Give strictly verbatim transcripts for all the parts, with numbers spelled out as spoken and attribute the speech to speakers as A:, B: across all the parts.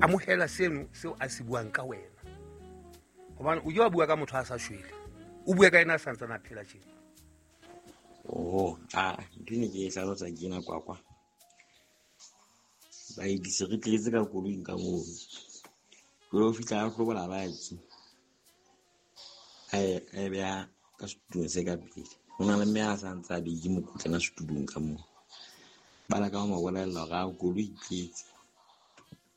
A: Amohela seno seo a se buang ka wena, hobane o ke wa bua ka motho a sa shwele, o bue ka ena a santsane a phela tjena.
B: Oh, ah, ntho e ne ke e hlalosa ke ena kwakwa. Baeti se re tletse ka koloing ka moo. Jwale o fihla a hlobola baki. A e a e beha ka setulong se ka pele. Ho na le mme a sa ntse a beile mokotlana setulong ka moo. Ba leka ho mo bolella hore a koloi e tletse.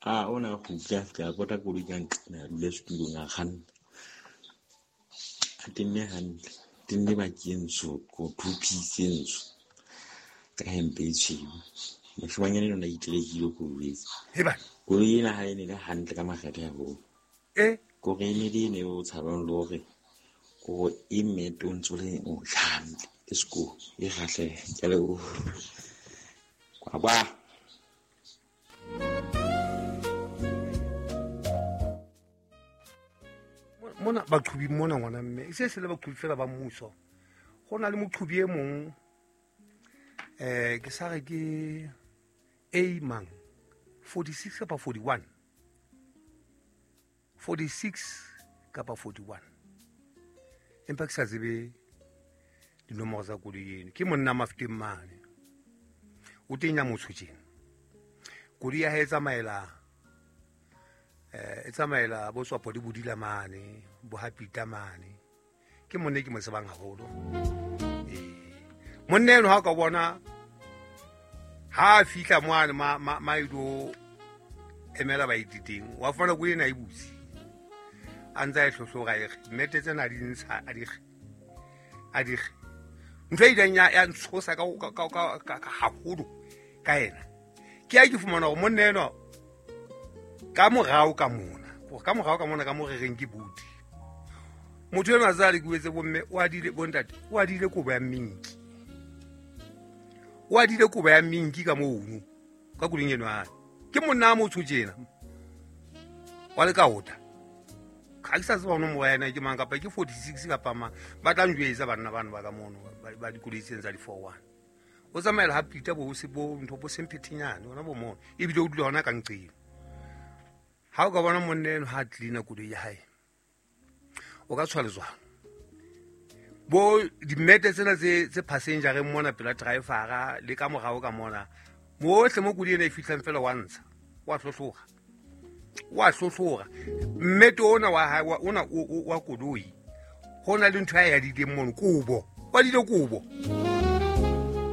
B: Ah, o na kgutle a fihla a pota koloi ka nqena a dula setulong a kganna. A tenne hantle. Tenne baki e ntsho, ko two piece e ntsho. Ka hempe e tshweu. Moshemanyana enwa o na iterekile ko jwetsa.
A: Heba.
B: Koloi ena ha e ne le hantle ka makgethe haholo.
A: Eh?
B: Kore e ne le ene o tshabang le hore kore e mete o ntso le o tjha hantle. Ke sekolo e kgahlehe. Ke a leboha. Kwakwa.
A: Mona baqhubi mona ngwana mme e se se le baqhubi fela ba mmuso. Ho na le moqhubi e mong, eh, ke sa re ke A mang, forty-six kapa forty-one. forty-six kapa forty-one. Empa ke sa tsebe dinomoro tsa koloi eno. Ke monna Mafeteng mane. O teng ya motsho tjena. Koloi ya hae e tsamaela, eh, e tsamaela bo Tswapo le Bodila mane, bo Hapita mane. Ke monna e ke mo tsebang haholo. Eh, monna eno ha o ka bona ha a fihla moane ma, ma, ma ilo emela baeti teng, wa fumana koloi ena e butse. A ntse a e hlohlora e re, mmete tsena a di ntsha, a di re, a di re. Ntho e ileng ya, ya ntshosa ka, ka, ka, ka, ka, ka haholo ka ena. Ke ha ke fumana hore monna enwa ka morao ka mona, hore ka morao ka mona ka mo re reng ke buti. Motho enwa a tse a lekuwetse bomme, o adile bontate, o adile kobo ya minki. O adile kobo ya minki ka mono, ka koloing eno hae. Ke monna a motsho tjena. Wa lekaota. Ha ke sa tseba nomoro ya ena ke mang, kapa ke forty-six kapa mang. Ba tla njwetsa banna bano ba ka mono, ba, ba dikoloi tsena tsa di-four one. O tsamaela ha Peter bo se bo ntho bo semphethenyane, hona bo mono. Ebile o dula hona ka nqeng. Ha o ka bona monna eno ha a clean-a koloi ya hae, o ka tshwa letswalo. Bo dimete tsena tse, tse passenger-eng mona pela driver-a le ka morao ka mona, mohle mo koloi ena e fihlang fela wa ntsha, wa hlohlora. Wa hlohlora. Mmete ona wa hae, wa, ona o, o, wa koloi, ho na le ntho ya e adileng mono, kobo. Wa adile kobo.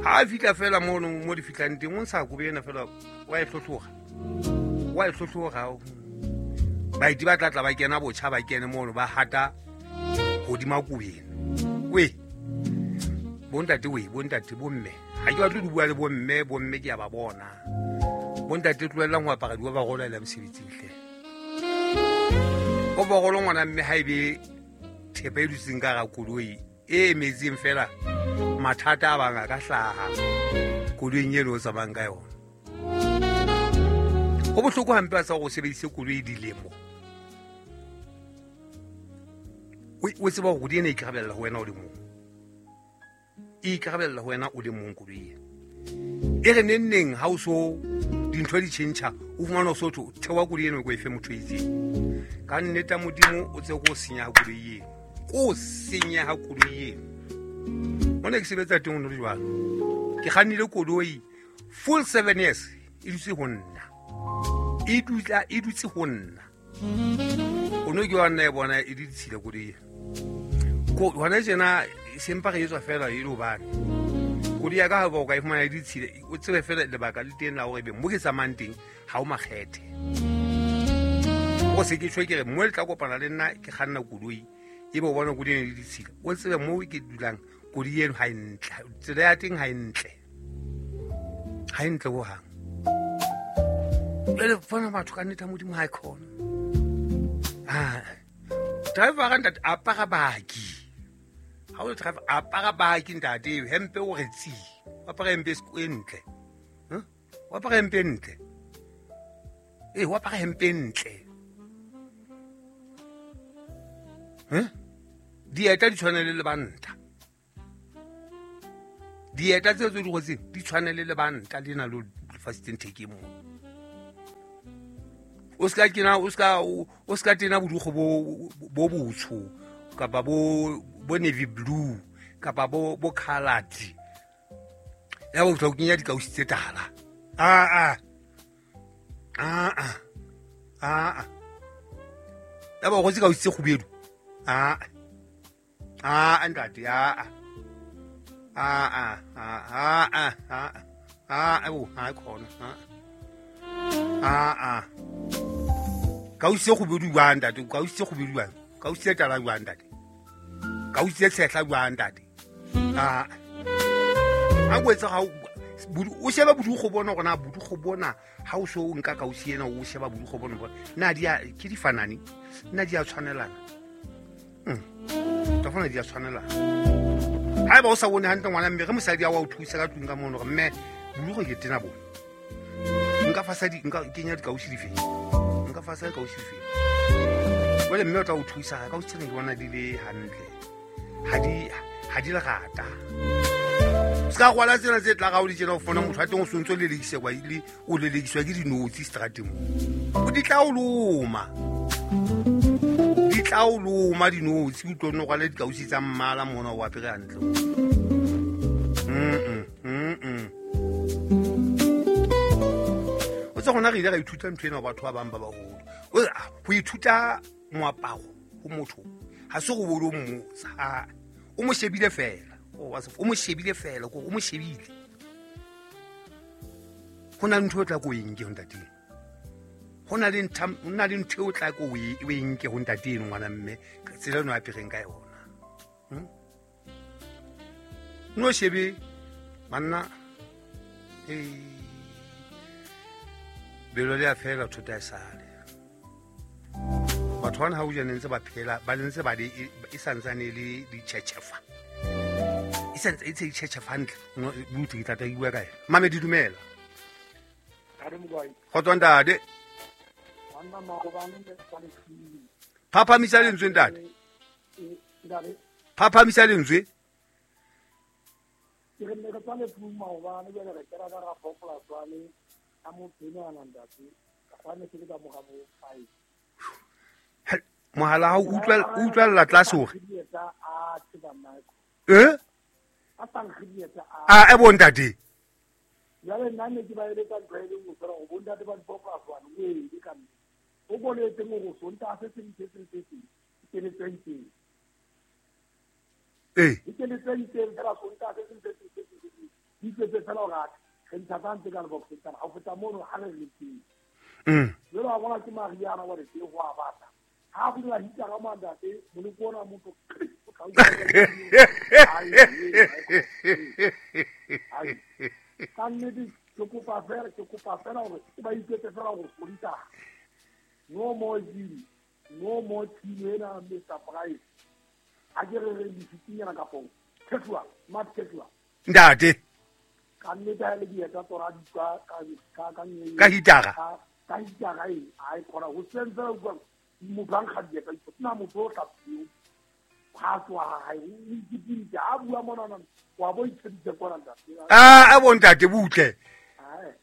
A: Ha a fihla fela mono mo di fihlang teng, o ntsha kobo ena fela, wa e hlohlora. Wa e hlohlora. Baeti ba tla tla ba kena botjha, ba kene mono, ba hata hodima kobo ena. We, bontate we, bontate, bomme. Ha ke batle ho bua le bomme, bomme ke a ba bona. Bontate tlohellang ho apara di-overall ha le ya mosebetsing hle. Overall ngwana mme ha ebe thepa e dutseng ka hara koloi e emetseng fela, mathata a bang a ka hlaha koloing eno o tsamayang ka yona. Ho bohloko hampe ha sa hore o sebedise koloi dilemo. O, o tseba hore koloi ena e ikarabella ho wena o le mong. E ikarabella ho wena o le mong koloi ena. E re neng neng ha o so dintho di tjhentjha, o fumana o so thwe, theoha koloi ena o e fe motho e itseng. Ka nnete ya Modimo o tsebe ko senyeha koloi eno. Ko senyeha koloi eno. Mona ke sebetsa teng ho no le jwalo. Ke kgannile koloi full seven years e dutse ho nna. E dutla, e dutse ho nna. O no ke wa nna e bona e di ditshila koloi ena. Ko hona tjena sempa re etswa fela e le hobane. Koloi ya ka ha o ka e fumana e ditshila, o tsebe fela lebaka le teng la hore ebe mo ke tsamayang teng ha o makgethe. O se ke tjho ke re mo le tla kopana le nna ke kganna koloi, ebe o bona koloi ena e le ditshila. O tsebe mo ke dulang koloi eno ha e ntle, tsela ya teng ha e ntle. Ha e ntle hohang. Jwale bona batho ka nnete ya Modimo ha e khona. Ah, driver ka ntate apara baki. Ha o le driver apara baki ntate, hempe o re tsi. O apara hempe e ntle. Huh? O apara hempe e ntle. Eh, o apara hempe e ntle. Huh? Dieta di tshwane le lebanta. Dieta tseo tse di rwetseng di tshwane le lebanta lena le fasitseng thekeng moo. O ska kena o ska o ska tena bodugo bo bo botsho kapa bo bo navy blue kapa bo bo colored. Ya bo tla o kenya dikausi tse tala. Ah ah. Ah ah. Ah ah. Ya bo go tse kausi tse kgubedu. Ah. Ah ntate ah ah. Ah ah ah ah ah ah ah bo ha khona. Ah ah. Kausi tse kgubedu jwang ntate? Kausi tse kgubedu jwang? Kausi tse tala jwang ntate? Kausi tse tshehla jwang ntate? Ah. A go etsa ga o sheba bodugo bona gore na bodugo bona ha o so o nka kausi ena o sheba bodugo bona bona na di a ke di fanane na di a tshwanelana. Mm. Tafona di a tshwanelana. Ha ba o sa bone hantle ngwana mme re mosadi a wa o thusa ka tlung ka mono gore mme bodugo ke tena bona. Nka fasa di nka kenya dikausi di feng? Nka fasa dikausi di feng? Jwale mme o tla o thusa ka kausi tsena ke bona di le hantle. Ha di ha di lerata. Ska rwala tsena tse tla ga o di tsena o fona motho a teng o sontso le lekise kwa ile o le lekiswa ke dinotsi strateng. O di tla o loma. Di tla o loma dinotsi o tlo no rwala dikausi tsa mmala mona o apere hantle. Mm mm mm. O tsa gona re ile ra ithuta ntho ena batho ba bang ba baholo. O ho ithuta moaparo ho motho ha se go bolo mmotsa. O mo shebile fela. O o mo shebile fela ko o mo shebile. Ho na le ntho e tla ko eng ke ho ntate. Ho na le ntho ho na le ntho e tla ko o e nke ho ntate eno ngwana mme tsela eno a apereng ka yona. Hm? No shebe banna eh belo le a fela thota e sale. Batho bana ha o jane ntse ba phela ba ntse ba le e santsane le di tjhetjhefa. E santse e tse tjhetjhefa hantle buti ke tla tla bua ka yena. Mame di dumela. Kgotso ntate. Phaphamisa lentswe ntate. Phaphamisa lentswe.
C: Ke re ne re tswale tlung maobane jwale re kena ka ga population tswane a motho ena a ntate ka kgwane ke le ka moga bo five.
A: Mohala ha o utlwa utlwella tlase hore. Eh? A e bo ntate.
C: Jwale nna ne ke ba eletsa ntho e le nngwe fela go bontate ba dipopulation o e le ka mme. O boletse gore Sontaga se seng se seng se seng ke le twenty.
A: Eh.
C: Ke le twenty fela Sontaga se seng se seng se seng. Di tletse fela gore re ntsha tsa ka le box tsana ha o feta mono ha re le teng.
A: Mm.
C: Jwale wa bona ke Mariana wa re ke go a batla. Ha go dira hitara ka mandate moloko ona motho o tla ai ka nnete ke kopa fela ke kopa fela gore ke ba iketse fela go Sontaga. No more deal, no more team ena Mister Price. A ke re re difitinyana ka pong. Khetwa, mat khetwa.
A: Ntate.
C: Ka nnete ha le dieta tsora di ka ka ka ka
A: ka hitara.
C: Ka hitara e ai khona ho sentse o bua motho a nkga dieta na motho o hlapile. Ha tswa ha o ikitile a bua mona wa bo itsheditse kwana ntate.
A: Ah a bo ntate butle.
C: Ai.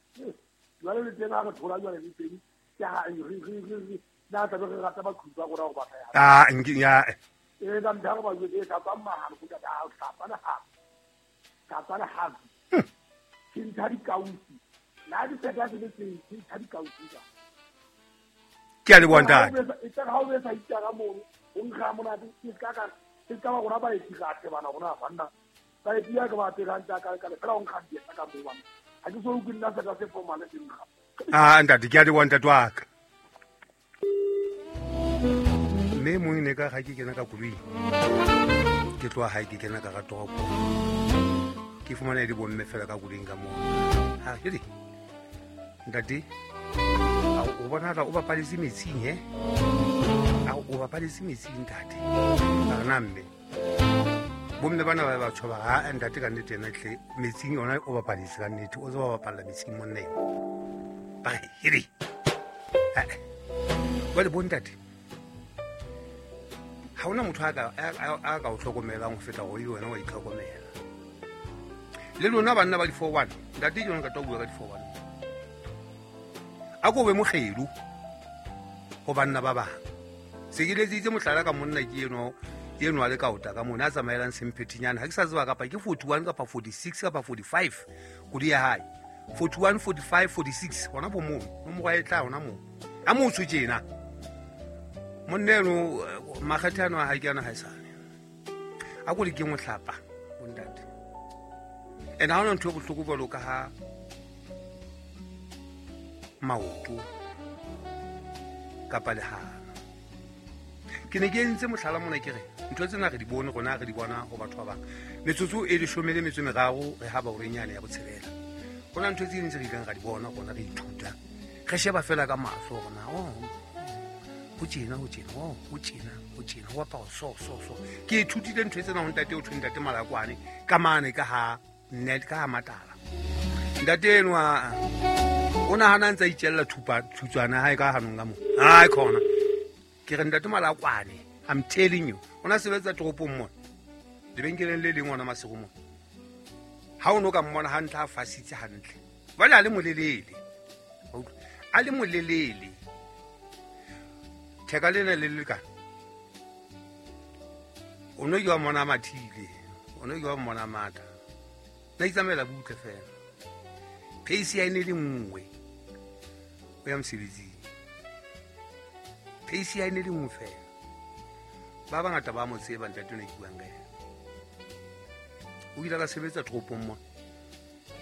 C: Jwale le tena re thola jwale le teng. Ya re re re na tla re rata ba khutsa gore go batla ya.
A: Ah nki ya.
C: E ka mtha go ba jwetse ka tsa mahalo go ka hlapa le ha. Ka tsa le ha. Ke ntsha dikausi. La di tseta se se ke ntsha dikausi ka.
A: Ke a le bona ntate.
C: E tla ha o be sa itara mono, o nkga monate ke ka ka ke ka ba gona ba e tira bana gona banna. Ba e tira ka ba tira ntsa ka ka fela o nkga dieta ka mo bana. Ha ke so o nna se ka se formal se nkga.
A: Ah ntate ke a le bona ntate wa ka. Mme mong ne ka ga ke kena ka koloi. Ke tloha hae ke kena ka ga toropo. Ke fumana di bomme fela ka koloing ka moo. Ha ke di. Ntate a o bona o bapaletse metsing he? A o bapaletse metsing ntate. A re na mme. Bomme bana ba ba tshoba ha ntate ka nnete ena tle metsing yona o bapaletse ka nnete o tseba bapalla metsing monna ena. Ba re ha ba le bontate. Ha ona motho a ka a ka o hlokomelang ho feta go wena wa itlhokomela. Le lona banna ba di four one ntate ke yona ka tlo bua ka di four one. A ko be mokgelu. Ho banna ba bang. Se ke letsitse mohlala ka monna ke eno eno a le kaota ka mona a tsamaelang semphethinyana. Ha ke sa tseba kapa ke forty-one kapa forty-six kapa forty-five kodi ya hae. forty-one, forty-five, forty-six hona bo moo. Nomoro ya e tla hona moo. A motsho tjena. Monna eno makgethe ano a hae ke ana haesale. A ko le ke mohlapa bontate. And ha hona ntho e bohloko jwalo ka ha maoto kapa lehano. Ke ne ke entse mohlala mona ke re ntho tsena re di bone rona re di bona ho batho ba bang. Metsotso e leshome le metso e meraro re ha ba horenyane ya botshelela. Hona ntho tse ding tse re ileng ra di bona rona re ithuta. Re sheba fela ka mahlo rona oh ho tjena ho tjena oh ho tjena ho tjena ho apara so so so. Ke ithutile ntho tsena ho ntate o thwe ntate Malakwane ka mane ka ha net ka ha matala. Ntate enwa o nahana ntse a itjella thupa thutswana hae ka hanong ka mo. Ai khona. Ke re ntate Malakwane, I'm telling you. O na sebetsa toropong mona. Lebenkeleng le leng ona Maseru mona. Ha o no ka mmona hantle a fasitse hantle. Jwale a le molelele. A le molelele. Theka lena le le ka. O no ke wa mmona mathile. O no ke wa mmona mata. Na itsamaela butle fela. Pace ya ene le nngwe. O ya mosebetsing. Pace ya ene le nngwe fela. Ba bangata ba mo tseba ntate ne ke buang ka yena. O ile a sebetsa toropong mona.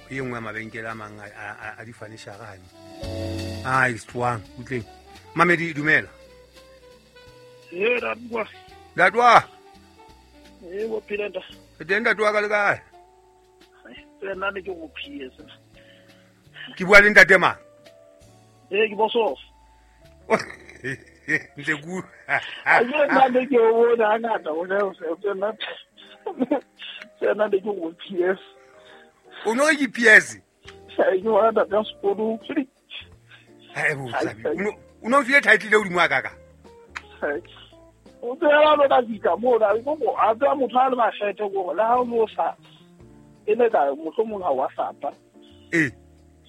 A: E nngwe ya mabenkele a mang a di furniture hane. Ai strong utleng. Mamedi dumela.
D: Eh dadwa.
A: Dadwa.
D: Eh bo phela nda.
A: Teng dadwa ka le kae?
D: Eh nna ne ke go phiyesa.
A: Ke bua le ntate mang?
D: Eh ke boso.
A: Ntse ku.
D: A ke nna ne ke o bona ngata o ne o se nna. Se nna ne ke go phiyesa.
A: O no ke P S?
D: Ke bona ntate sekolo.
A: Hai bo tsabi. O no file title e hodimo a kaka.
D: O tsela lo ka fika mo la go go a tsa motho a le makgethe go le ha o no sa e le ka mohlomong ha wa sapa.
A: Eh.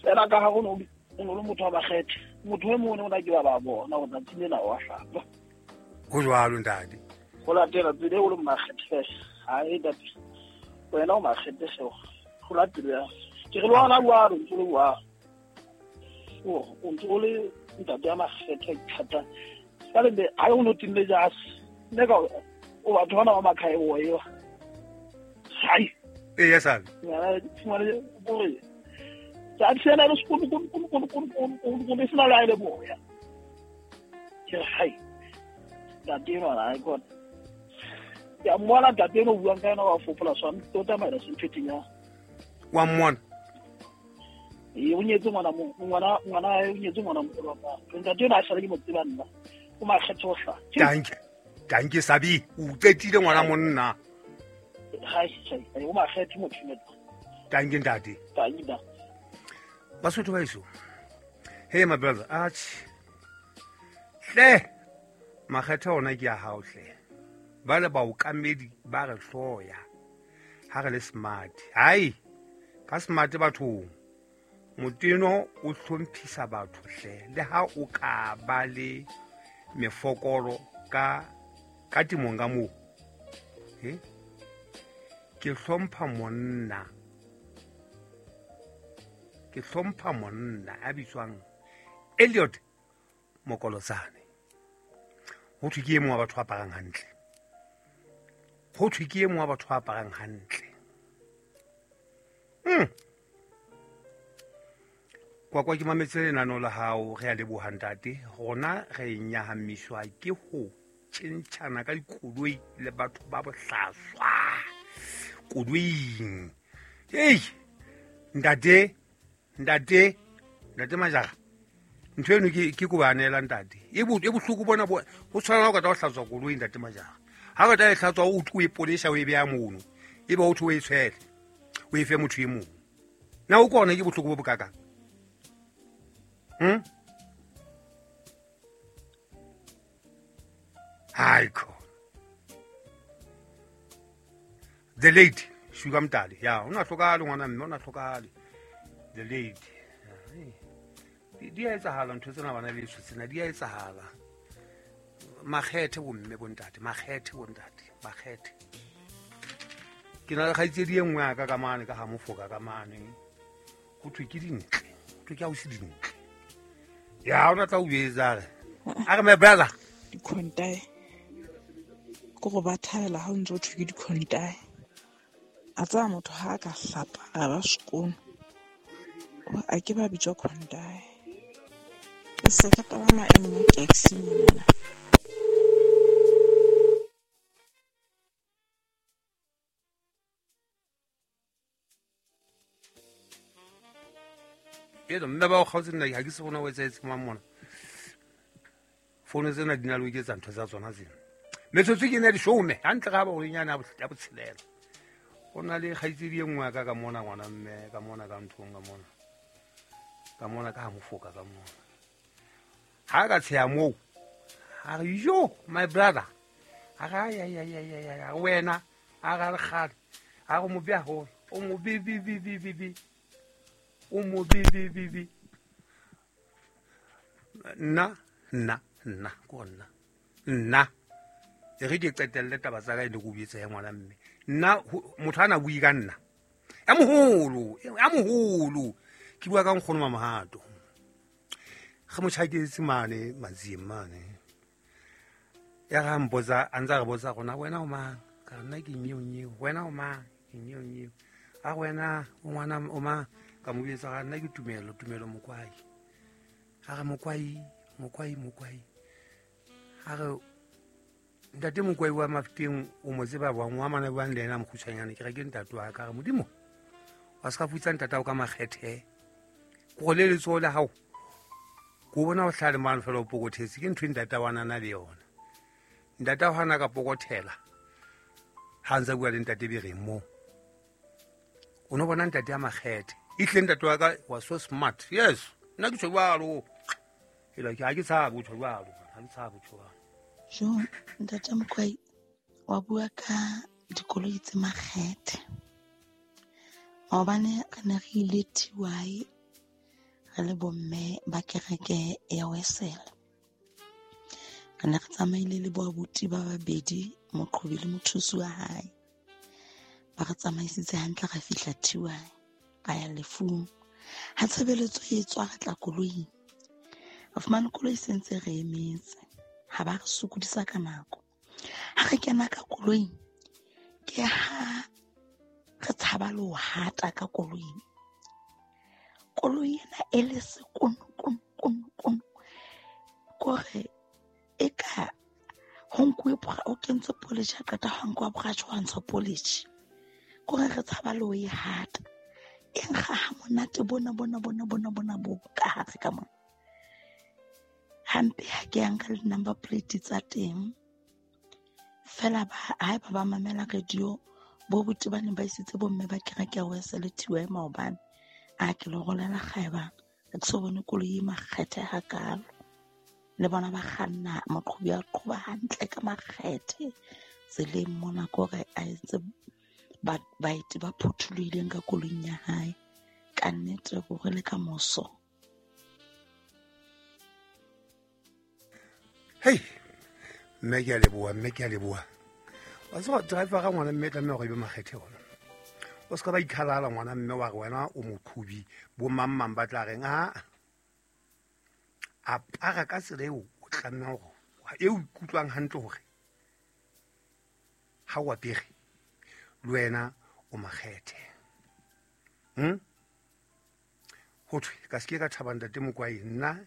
D: Fela ka ha go no o no le motho wa makgethe. Motho e mongwe o na ke ba ba bona go tsatsi lena wa sapa.
A: Ho jwalo ntate.
D: Go latela tsela o le makgethe. Ha e ntate. Wena o makgethe seo. Go latela ya. Ke re lwana bua re ntse le bua. O o ntse o le ntate ya makgethe thata. Ka le ha o no tinne jase. Ne ka o batho bana ba makhae o eo. Hai.
A: Eh ya sabe.
D: Ya tshwana gore. Tsa tsena le sekolo kono kono kono kono kono kono sena la ile bo ya. Ke hai. Ntate no la go. Ya mona ntate no buang ka yena wa fofola swa tota mara se ntfeteng ya.
A: Wa mmona.
D: E o nyetse ngwana mo ngwana ngwana o nyetse ngwana mo wa ka. Ntate no a sala ke mo tseba nna. O makgethe o hla.
A: Danke. Danke Sabi, o qetile ngwana monna.
D: Hai hai, o makgethe motho ne.
A: Danke ntate.
D: Danke da.
A: Basotho ba eso. Hey my brother, atjhe. Hle. Makgethe ona ke ya hao hle. Ba le baokamedi ba re hloya. Ha re le smart. Hai. Ka smart bathong. Moteno o hlomphisa batho hle. Le ha o ka ba le mefokolo ka ka timong ka moo. He? Ke hlompha monna. Ke hlompha monna a bitswang Elliot Mokolotsane. Ho thwe ke e mong wa batho ba aparang hantle. Ho thwe ke e mong wa batho ba aparang hantle. Mm. Kwa kwa ke mametse lenano la hao re a leboha ntate. Rona re nyahamiswa ke ho tjhentjhana ka dikoloi le batho ba bohlaswa. Koloing. Hey! Ntate, ntate, ntate Majara. Ntho eno ke ke kobanela ntate. E bo e bohloko bona bo ho tshwana o ka tla hlatswa koloi ntate Majara. Ha ka tla hlatswa o tlo e polesha o e beya mono. E ba o tlo e tshwele. O e fe motho e mong. Na o kona ke bohloko bo bokakang? Hmm? Hai ko. The late Sugar Mtali. Ya, ona hlokahale ngwana mme, ona hlokahale. The late. Di di a etsahala ntho tsena bana le tsena di a etsahala. Makgethe bomme bontate, makgethe bontate, makgethe. Ke na le kgaitsedi e nngwe ya ka ka mane ka ha mofoka ka mane. Ho thwe ke dintle, ho thwe ke ausi dintle. Ya ona tla o etsa re. A re my brother.
E: Dikhontae. Ke go ba thabela ha o ntse o thwe ke dikhontae. A tsaya motho ha a ka hlapa a ba sekono. A ke ba bitswa khontae. Ke se ka palama e nngwe taxi mona.
A: Eno mme ba o kgaotse nna ha ke se bona o etsahetse mang mona. Fono tsena di na le ho iketsa ntho tsa tsona tsena. Metsotso ke ena ya leshome, hantle ga ba horinyana ya botshelela. Ho na le kgaitsedi e nngwe ya ka ka mona ngwana mme, ka mona ka nthong ka mona. Ka mona ka ha mofoka ka mona. Ha ka tsheya moo, a re yo my brother. A re ay ay ay ay ay wena, a re kgale. A re mobe haholo, o mobe bi bi bi bi bi. O mo bi bi bi bi. Nna nna nna ko nna. Nna e re ke qetelle taba tsa ka e le go buetse ya ngwana mme. Nna motho ana bui ka nna. Ya moholo, ya moholo. Ke bua ka nkgono Mamohato. Ge motjhaketse mane Matsieng mane. Ya ga mpotsa, a ntsa re botsa gona wena o mang? Ka nna ke nyeo nyeo. Wena o mang? Ke nyeo nyeo. A wena o ngwana o mang? Ka mo bitsa ga nna ke Tumelo, Tumelo Mokwai. A re Mokwai, Mokwai, Mokwai. A re ntate Mokwai wa Mafeteng o mo tseba bang wa mana buang le yena mokgutshwanyane, ke re ke ntate wa ka. Re Modimo wa se ka futsa ntate wa ka makgethe. Ko go le letsoho la hao ko bona o hlale mane fela o pokothetse, ke ntho e ntate wa nana le yona. Ntate wa hana ka pokothela ha ntse bua le ntate Bereng moo. O no bona ntate ya makgethe. Ehlile ntate wa ka was so smart. Yes, nna ke tjho jwalo. Ela ke ha ke tshabe ho tjho jwalo, ha ke tshabe ho tjho jwalo.
F: Jo, ntate Mokwai wa bua ka dikoloi tse makgethe. Maobane re ne re ile T Y re le bomme ba kereke ya Wesele. Re ne re tsamaile le boabuti ba babedi, moqhobi le mothusi wa hae. Ba re tsamaisitse hantle ra fihla T Y. Ra ya lefung. Ha tshebeletso e tswa re tla koloing. Re fumane koloi se ntse re emetse. Ha ba re sokodisa ka nako. Ha re kena ka koloing, ke ha re tshaba le ho hata ka koloing. Koloi ena e le sekono kono kono kono. Kore e ka ho nkuwe o kentswe polish, ha qeta ho nkuwa brush wa ntsha polish. Kore re tshaba le ho e hata. E nkga ha monate bona bona bona bona bona bo ka hare ka mona. Hampe ha ke ya nka le number plate tsa teng. Fela ba haeba ba mamela radio bo buti ba ne ba isitse bomme ba kereke ya Wesele T Y maobane. A ke le rolela kgaeba ke so bone koloi e makgethe hakalo. Le bona ba kganna moqhobi a qhoba hantle ka makgethe tseleng mona, kore a entse ba baeti ba phuthulohileng ka koloing ya hae. Ka nnete hore le ka moso.
A: Hey, mme ke a leboha, mme ke a leboha. Wa tseba driver ga ngwana mme tlameha hore e be makgethe ona. O se ka ba ikhalala ngwana mme wa re wena o moqhobi, bo mang mang ba tla reng a apara ka tsela eo o tlameha hore e o ikutlwang hantle hore ha o apere le wena o makgethe. Hm? Ho thwe ka se ke ka thaba ntate Mokwai, nna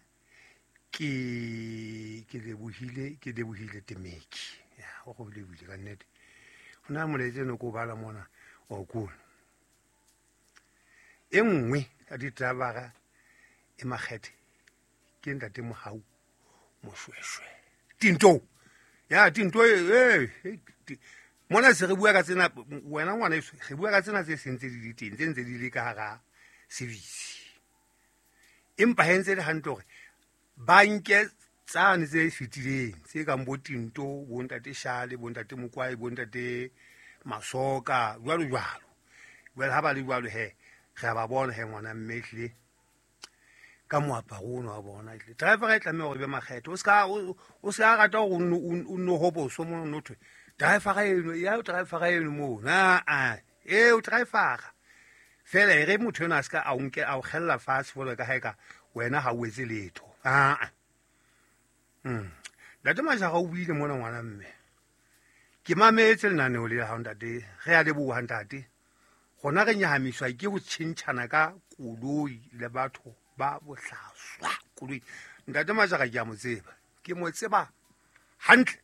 A: ke ke lebohile, ke lebohile Temeki. Ya, o go lebohile ka nnete. Ho na molaetsa no ko bala mona o ko. E nngwe ya ditabara e makgethe ke ntate Mohau Moshweshwe. Tinto. Ya tinto e e mona se re bua ka tsena wena ngwana eso, re bua ka tsena tse sentse di le teng, tse ntse di le ka hara service. Empa he ntse le hantle hore ba nke tsane tse fetileng tse kang bo Tinto, bo ntate Shale, bo ntate Mokwai, bo ntate Masoka, jwalo jwalo. Jwale ha ba le jwalo he, re a ba bona he ngwana mme ehlile. Ka moaparo ono wa bona driver e tlameha hore be makgetho o ska o ska rata hore o no hoboso mo no thwe driver eno ya driver eno mo na a e o driver fela e re motho ena a ska a o nke a o khella fatshe fela ka haeka wena ha o etse letho a a mm ntate Majara o buile mona ngwana mme ke mametse lenaneo le ha ntate re a leboha ntate gona re nyahamiswa ke ho tjhentjhana ka koloi le batho ba bohlaswa koloi ntate Majara ke a mo tseba ke mo tseba hantle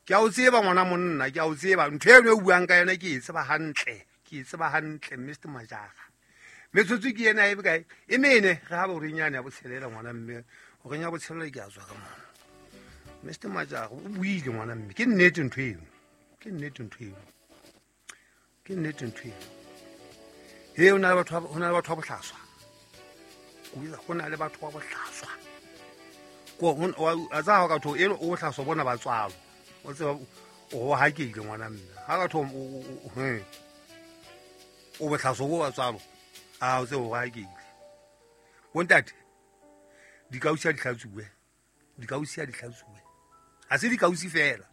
A: ke a o tseba ngwana monna ke a o tseba ntho eno e buang ka yona ke e tseba hantle ke e tseba hantle Mister Majara metsotso ke yena e bekae e mene re ha ba renyane ya botshelela ngwana mme o renya botshelela ke a tswa ka mona Mister Majara o buile ngwana mme ke nnete ntho eno ke nnete ntho eno ke nnete ntho eno he o na le batho ho na le batho ba bohlaswa go na le batho ba bohlaswa ko a tsa ha ka tho eno o bohlaswa bona ba tswalo o tseba o hakile ngwana mme ha ka tho he o bohlaswa bo ba tswalo a o tseba o hakile bontate dikausi a di hlatsuwe dikausi a di hlatsuwe ha se dikausi fela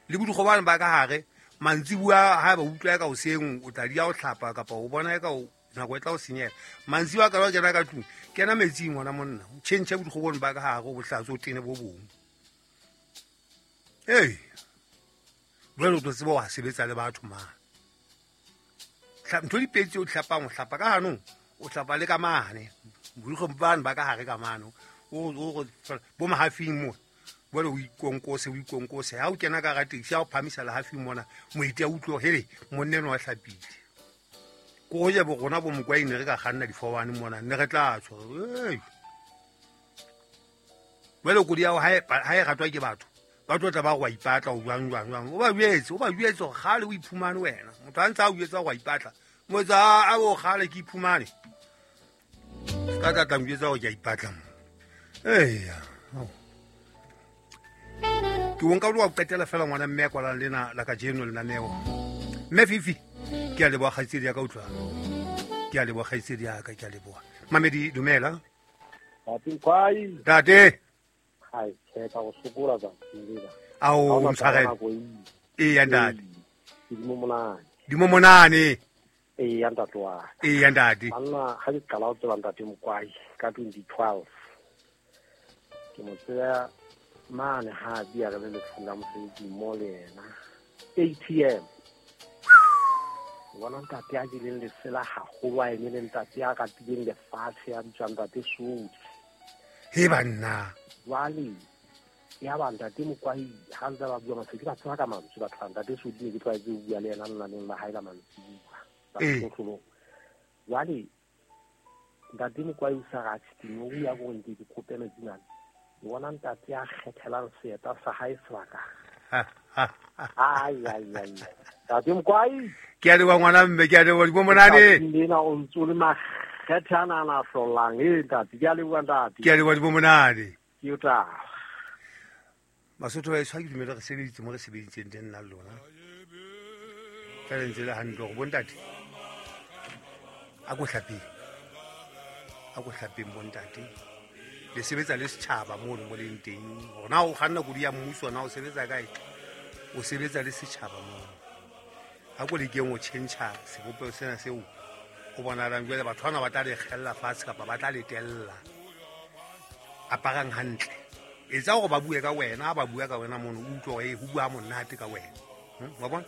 A: le bodikgobane ba ka hare mantsibuya ha ba utlwa ka hoseng o tla di ya o hlapa kapa o bona ka o nako e tla o senyela mantsibuya ka ba kena ka tlung kena metsing ngwana monna o tjhentjhe bodikgobone ba ka hare o bohlatso o tene bo bong hey jwale o tlo tseba wa sebetsa le batho mane ntho di pedi o hlapang o hlapa ka hanong o hlapa le ka mane bodikgobane ba ka hare ka mane o o bo mahafing mo bole o ikonkose o ikonkose ha o kena ka taxi ha o phamisa le hafing mona moeti a utlwe hele monna eno wa hlapile ko je bo rona bo mokwaine re ka kganna di-four one mona ne re tla tswa ei jwale kodi ya ha ha e ratwa ke batho ba tlo tla ba go ipatla o jwang jwang jwang o ba jwetse o ba jwetse gore kgale o iphumane wena motho a ntse a o jwetsa go ipatla mo etsa a bo kgale ke iphumane ka tla tla njwetsa gore ke a ipatla mo eya ke o nka o qetela fela ngwana mme ya kwalang lena la kajeno lenaneo mme Fifi ke a leboha kgaitsedi ya ka utlwa ke a leboha kgaitsedi ya ka ke a leboha Mamedi dumela
C: Ntate Kwai
A: ntate
C: hai ke ka go sokola tsatsing lena
A: ao mtshwarele eya ntate
C: dimo monane
A: dimo monane
C: eya ntate wa
A: eya ntate
C: anna ha ke qala ho tseba ntate Mokwai ka twenty twelve ke mo tseba mane ha bia re le lefung la mosebetsi mo le yena A T M bona ntate a jeleng lesela haholo a eme le ntate a ratileng lefatshe a bitswang ntate Sodi
A: he banna
C: jwale ya ba ntate Mokwai ha ntse ba bua mase ke ba tseba ka mantswe batho ba ntate Sodi ne ke tlwaetse ho bua le yena lenaneng la hae la mantsibuya ba jwale ntate Mokwai o sa ratse teng o ya gore nke ke kope metsi mane bona ntate a kgethelang seeta sa hae sebaka ai ai ai ntate Mokwai
A: ke a leboha ngwana mme ke a leboha dimo monane
C: lena o ntse o le makgethe ana ana a hlollang e ntate ke a leboha ntate
A: ke a leboha dimo monane
C: ke o tla
A: Basotho ba heso ha ke dumele re sebeditse mo re sebeditseng teng nna le lona fela ntse le hantle gore bontate a ko hlapeng a ko hlapeng bontate le sebetsa le setjhaba mono mo leng teng hore na o kganna kodi ya mmuso na o sebetsa kae o sebetsa le setjhaba mono ha ko lekeng o tjhentjha sebopeho sena seo o bonahalang jwale batho bana ba tla le kgella fatshe kapa ba tla le tella aparang hantle etsa hore ba bue ka wena ha ba bua ka wena mono o utlwe hore ho bua monate ka wena wa bona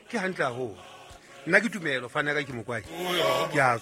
A: ke hantle haholo nna ke tumelo fana ka ke Mokwai ke a